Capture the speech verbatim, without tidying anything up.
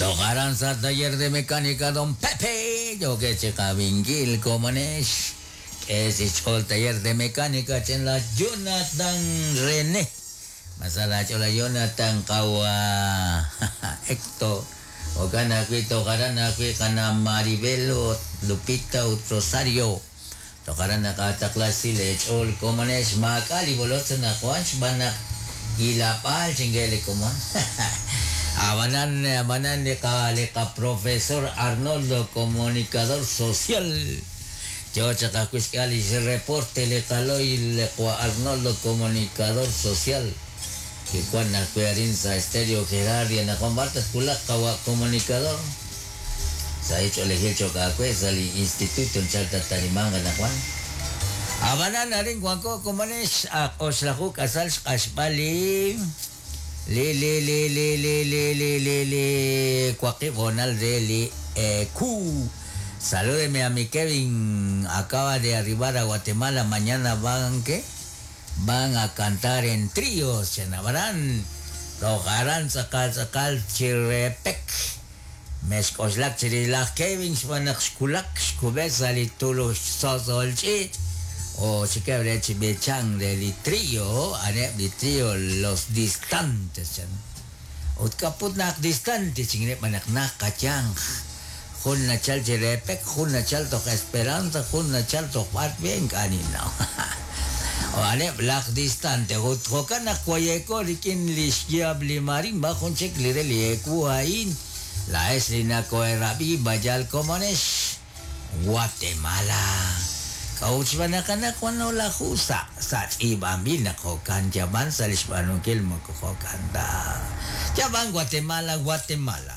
Tokaran sa taller de mecánica Don Pepe. Yo que chikabingil komanesh. Es el taller de mecánica chen la Jonathan René. Masala chola Jonathan kawa Héctor. Ogana kwi tokaran kwi kana Maribel Lupita Rosario. Tokaran nakatakla sile chol komanesh makali bolot sa nakuan banak ilapal chingele komon. Abanan abanan lika lika Profesor Arnoldo, comunicador social. Yo chakakuiskali reporte le kaloy le Arnoldo, comunicador social. Que cuando sa estéreo Gerardia na combartas kulak kawa comunicador. Sa hecho elegir chokakwe sa li instituto chalta talimanga na kwan. Abanan na rin kwanko kumanes oslaku kasal kashpali. Le le le le le le le le le cuaqui bonal de li eh, Q. Salúdeme a mi Kevin, acaba de arribar a Guatemala, mañana van ¿qué? Van a cantar en tríos, chenabarán, tocarán sakal sakal chirepek. Mexcoxlac chirilaj Kevin xbanaq xkulak xkubesa li tulu sosolchit. O chiquebre chibechan de li trío, ane li trío los distantes chan. Ut kaput nak distante chingne manak nak kachang. Jun nachal chirepek, jun nachal tok esperanza, jun nachal tok bat bien kanino. O ane black distante, ut jokan akwayeko rikin lixyab limarin ba jun chik lire lieku ain. La eslina koerabi bayal komonesh Guatemala. Kauch banakanak wano la jusa sa ibambil na kokan jaban sa lishbanukil mo kokanda. Jaban Guatemala, Guatemala.